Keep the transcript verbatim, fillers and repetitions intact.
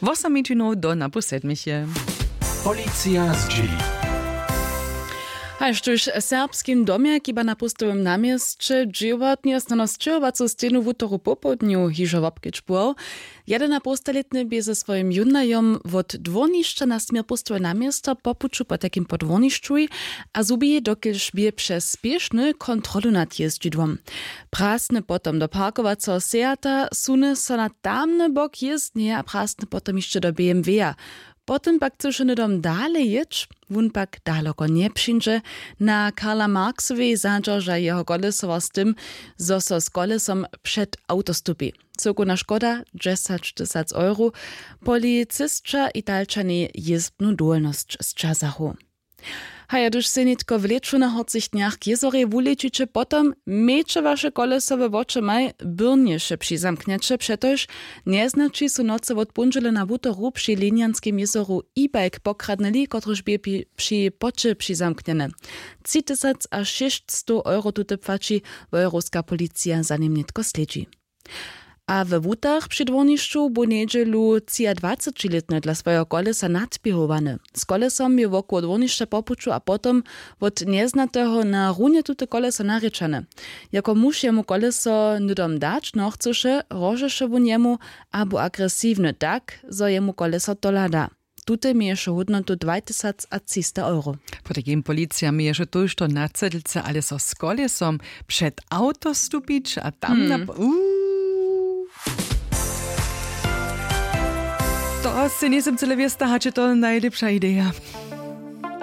Wosom minutinow do napoł sedmich je. Policija zdźěli. Haž tuž w serbskim domje, kiba na póstowym namjesće dźěłatnje snano sćěhowacu stejnu wutoru popołdnju hižo wobkedźbował, jedenapółstalětny bě ze swojim jónajom wot dwórnišća na směr póstowe namjesto po puću potajkim po dwórnišćuj a zhubi, dokelž bě přez spěšny kontrolu nad jězdźidłom. Prasny potom do parkowaceho sejata, suny so na tamny bok jězdnje a prasny potom hišće do B M W-a. Potom pak chcyše hnydom dale jěć, wón pak daloko njepřińdźe. Na Karla Marksowej zadźerža jeho kolesowa z tym, zo so z kolesom před awto stupi. Cyłkowna škoda dźesaćtysac euro. Policisća Italčanej jězbnu dowolnosć sćazachu. Haja, hdyž sej nětko w lěću na horcych dnjach k jězorej wulěćiće, potom mějće waše koleso we wočomaj, byrnješe přizamknjeće, přetož njeznaći su nocy wot póndźele na wutoru při linjanskim jězoru e-bike pokradnyli, kotryž bě pi- při poće přizamknjeny. Tři tysac a šěsćstow euro tute płaći. Wojerowska policija za nim nětko slědźi. A we wutach při dwórnišću bu njedźelu třiadwacećilětny dla swojeho kolesa nadběhowany. Z kolesom je wokoło dwórnišća po puću a potom wot njeznateho na runje tute koleso narěčane. Jako muž jemu koleso hnydom dać nochcyše, hrožeše wón jemu a bu agresiwny tak, zo jemu koleso tola da. Tute měješe hódnotu dwajtysacatřista euro. Potajkim policija měješe tójšto na cedlce, ale so z kolesom před awto stupić a tam na... Hmm. Uuu. To sej njejsym cyle wěsta, hač je to najlěpša ideja.